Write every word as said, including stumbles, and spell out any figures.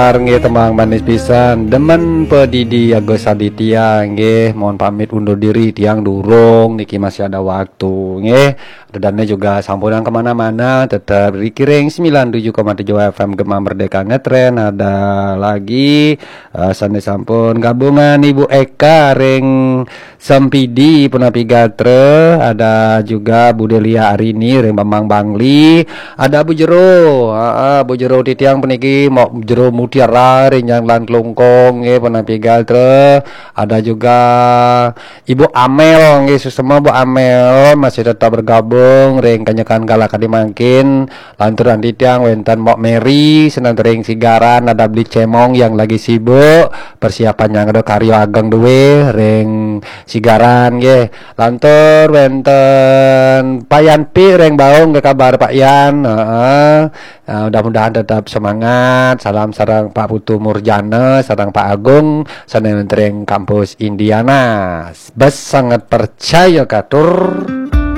Nggih, tembang manis pisan. Demen pedidi Agus Aditya nggih, mohon pamit undur diri, tiang durung niki, masih ada waktu nggih. Dedane juga sampunang kemana-mana, tetap di Kiring sembilan tujuh koma tujuh F M Gema Merdeka Ngetren. Ada lagi eh, sane sampun gabungan Ibu Eka ring Sempidi punapi gatra, ada juga Bu Delia Arini ring Bambang Bangli, ada Bu Jero, heeh, Bu Jero titiang puniki mok Jero Mutiara ring Janglan Klungkung nggih punapi gatra, ada juga Ibu Amel nggih, suksma Bu Amel masih tetap bergabung ring Kanyekan Kala Kadi mangkin, lantur anti tiang wenten Mok Mary, seneng ring Sigaran, ada Beli Cemong yang lagi sibuk, persiapan yang ada karya ageng duwe ring Sigaran nggih. Lantur wenten Pak Yan Pi ring Baung, ke kabar Pak Yan? Heeh. Eh, mudah-mudahan tetap semangat. Salam sareng Pak Putu Murjana, sareng Pak Agung, sane wenten ring kampus Indiana. Bes sangat percaya katur.